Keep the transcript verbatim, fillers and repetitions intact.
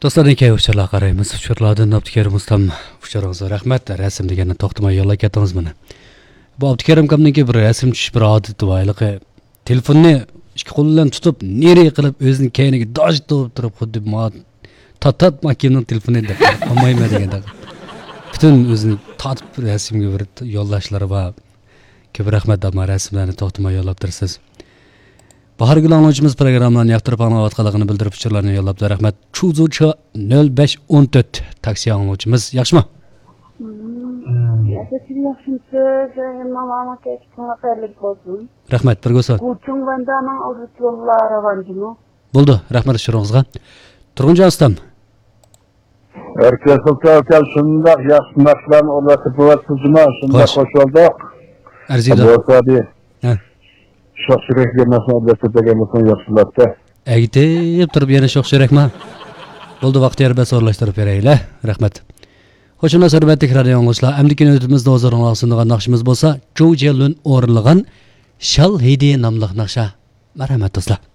دوستلار، كەينىكى ئۇچۇرلارغا قارايمىز. ئۇچۇرلاردىن ئابدۇكېرىم ئۇستام، ئۇچۇرىڭىزغا رەھمەت. رەسىم دېگەننى توختىماي يوللاپ كەتتىڭىز مانا. بۇ ئابدۇكېرىم ئاكامنىڭكى بىر رەسىم چۈشۈش بىر ئادىتى بار ھېلىقى. تېلېفوننى ئىككى قول بىلەن تۇتۇپ، نېرى قىلىپ، ئۆزىنى كەينىگە داجىتىپ تۇرۇپ، خۇددى ما تاتات ماكىمنىڭ تېلېفونى دەپ، ئالمايمەن دېگەندەك. پۈتۈن ئۆزىنى تارتىپ رەسىمگە بېرىپ يوللاشلىرى بار. كۆپ رەھمەت، ئەمما رەسىملەرنى توختىماي يوللاپ تۇرىسىز. باھارگۈل ئاڭلىغۇچىمىز پروگراممىلارنى ياقتۇرۇپ ئاڭلاۋاتقانلىقىنى بىلدۈرۈپ ئۇچۇرلارنى يوللاپتۇ. رەھمەت. چۇزۇچى نۆل بەش ئون تۆت تاكسى ئاڭلىغۇچىمىز. ياخشىمۇ؟ مم. ياخشى، سىز ياخشىمۇسىز؟ ماڭا كەچكىڭلار خەيرلىك بولسۇن. رەھمەت، بىرگە بولسۇن. گۇچۇڭ ۋەندانىڭ ئۇزۇتلۇللا راۋانجىمۇ؟ بولدى، رەھمەت ئۇچۇرىڭىزغا. تۇرغۇنجان ئۇستام. ئەركىن سۇلتان ئاكام، شۇنداق ياخشى ناخشىلارنى ئورۇنلاشتۇرۇپ بېرىۋاتىسىز جۇما، شۇنداق خوش. خۇش بولدۇق. ئەرزىيدۇ. بولسا دېيىڭ. ھە. شوخ چۆرەك دېگەن ناخشىنى ئورۇنلاشتۇرۇپ بەرگەن بولساڭ ياخشى بولاتتى. ئەگىتىپ تۇرۇپ يەنە شوخ چۆرەكما؟ بولدى، ۋاقتى يار بەرسە ئورۇنلاشتۇرۇپ بېرەيلى. رەھمەت. خوش ئامراق ھۆرمەتلىك رادىيو ئاڭلىغۇچىلار، ئەمدىكى نۆۋىتىمىزدە ھۇزۇرۇڭلارغا سۇنىدىغان ناخشىمىز بولسا، جو جيەنلۈن ئورۇنلىغان شال ھىدى ناملىق ناخشا. مەرھەمەت دوستلار.